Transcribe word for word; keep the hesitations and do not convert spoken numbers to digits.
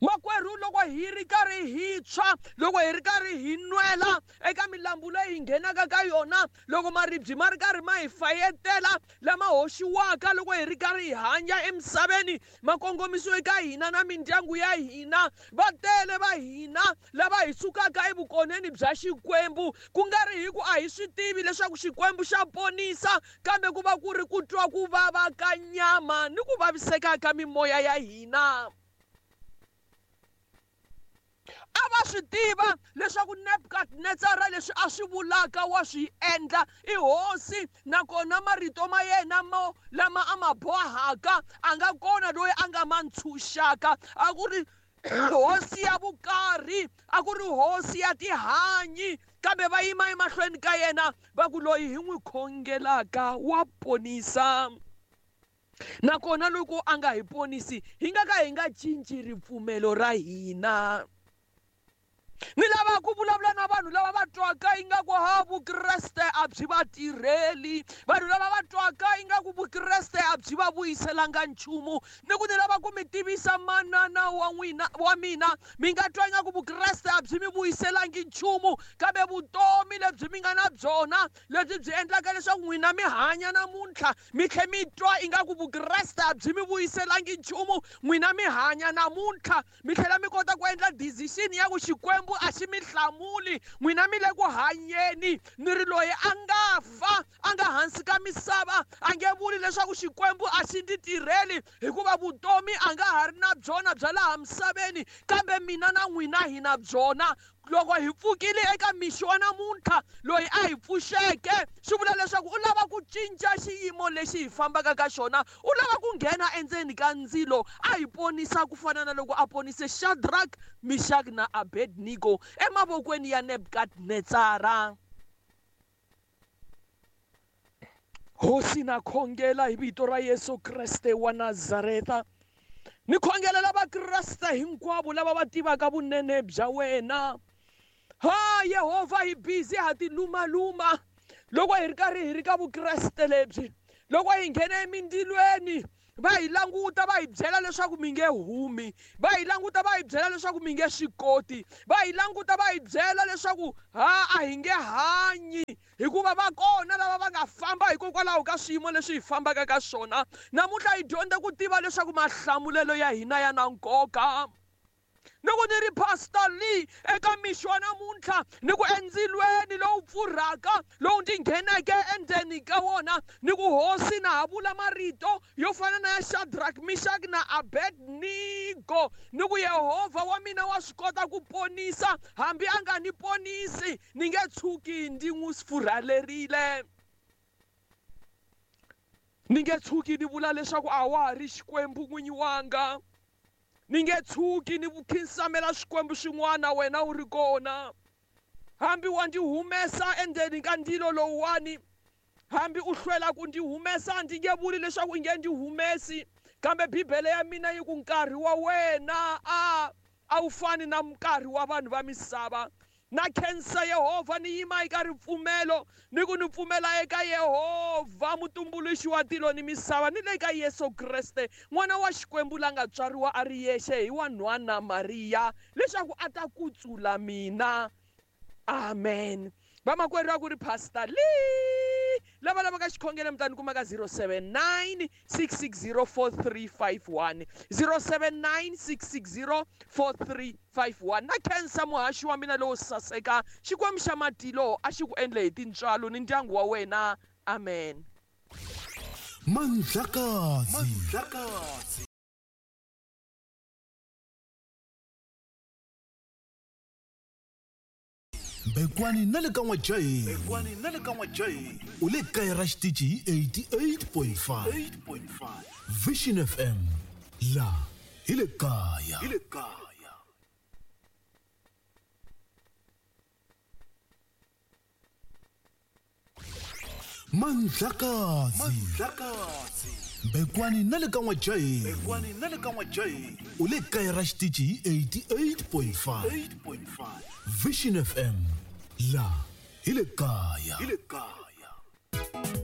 Makwerhu, loko hi ri karhi hi tshwa, loko hi ri karhi hi nwela eka milambu leyi hi nghenaka ka yona, loko maribye ma ri karhi ma hi fayetela lama hoxiwaka loko hi ri karhi hi hanya emisaveni, ma kongomisiwe eka hina na mindyangu ya hina, va tele va hina lava hi sukaka evukoneni bya Xikwembu, ku nga ri hi ku a hi swi tivi leswaku Xikwembu xa ponisa, kambe ku va ku ri ku twa ku vava ka nyama ni ku vaviseka ka mimoya ya hina. A va swi tiva leswaku Nebukadnetsara leswi a swi vulaka wa swi endla, i hosi, nakona marito ma yena mo lama a ma bohaka a nga kona loyi a nga ma ntshunxaka. A ku ri hosi ya vukarhi, a ku ri hosi ya tihanyi, kambe va yima emahlweni ka yena va ku loyi hi n'wi khongelaka wa ponisa. Nakona loko a nga hi ponisi, hi nga ka hi nga cinci ripfumelo ra hina. Ni lava ku vulavula na vanhu lava va twaka ingaku ha Vukreste a byi va tirheli, vanhu lava va twaka ingaku Vukreste a byi va vuyiselanga nchumu. Ni ku ni lava ku mi tivisa manana wa n'wina wa mina, mi nga twa ingaku Vukreste a byi mi vuyiselangi nchumu, kambe vutomi lebyi mi nga na byona lebyi byi endlaka leswaku n'wina mi hanya namuntlha, mi tlhe mi twa ingaku Vukreste a byi mi vuyiselangi nchumu, n'wina mi hanya namuntlha, mi tlhela mi kota ku endla decision ya ku Xikwembu a xi mi hlamuli, n'wina mi le ku hanyeni. Ni ri loyi a nga fa a nga hansi ka misava a nge vuli leswaku Xikwembu a xi ndzi tirheli, hikuva vutomi a nga ha ri na byona bya laha misaveni, kambe mina na n'wina hi na byona. Loko hi pfukile eka mixo wa namuntlha, loyi a hi pfuxeke swi vula leswaku u lava ku cinca xiyimo lexi hi fambaka ka xona, u lava ku nghena endzeni ka ndzilo a hi ponisa ku fana na loko a ponise Shadrach, Meshach na Abednego emavokweni ya Nebukadnetsara. Hosi, na khongela hi vito ra Yesu Kreste wa Nazareta, ni khongelela Vakreste hinkwavo lava va tivaka vunene bya wena. Ha Yehovha, hi busy ha ti lumaluma loko hi ri karhi hi ri ka Vukreste lebyi, loko hi nghena emindzilweni va hi languta va hi byela leswaku mi nge humi, va hi languta va hi byela leswaku mi nge swi koti, va hi languta va hi byela leswaku ha a hi nge hanyi, hikuva va kona lava va nga famba hikokwalaho ka swiyimo leswi hi fambaka ka swona. Namuntlha hi dyondza ku tiva leswaku mahlamulelo ya hina ya na nkoka. Ni ku ni ri Pastor Lee eka mixo wa namuntlha, ni ku endzilweni lowu pfurhaka lowu ndzi ngheneke endzeni ka wona, ni ku hosi na ha vula marito yo fana na ya Shadrach, Meshach na Abednego, ni ku Yehovha wa mina wa swi kota ku ponisa, hambi a nga ni ponisi ni nge tshuki ndzi n'wi furhalerile, ni nge tshuki ni vula leswaku a wa ha ri Xikwembu n'winyi wanga, ni nge tshuki ni khinsamela swikwembu swin'wana wena u ri kona. Hambi wa ndzi humesa endzeni ka ndzilo lowuwani, hambi u hlwela ku ndzi humesa, ndzi nge vuli leswaku i nge ndzi humesi, kambe Bibele ya mina yi ku nkarhi wa wena a a wu fani na nkarhi wa vanhu va misava. Na khensa Yehovha, ni yima eka ripfumelo, ni ku ni pfumela eka Yehovha mutumbuluxi wa tilo ni misava, ni le ka Yesu Kreste n'wana wa Xikwembu la nga tswariwa a ri yexe hi wanhwana Mariya, leswaku a ta kutsula mina. Amen. Vamakwerhu, a ku ri Pastor Lee. Lava lavaka xikhongelo mi ta ni kuma ka zero seven nine six six zero four three five one, zero seven nine six six zero four three five one. Na khensa muhaxi wa mina lowo saseka, Xikwembu xa matilo a xi ku endle hi tintswalo ni ndyangu wa wena. Amen. Mandlakazi. Mandlakazi. Bekwani na le ka N'wajaheni. Bekwani na le ka N'wajaheni. U le kaya ra xitichi hi eighty-eight point five. Vision F M. La hi le kaya. Hi le kaya. Mandlakazi. Mandlakazi. Bekwani na le ka N'wajaheni. Bekwani na le ka N'wajaheni. U le kaya ra xitichi hi eighty-eight point five. Vision F M. La hi le kaya. Hi le kaya.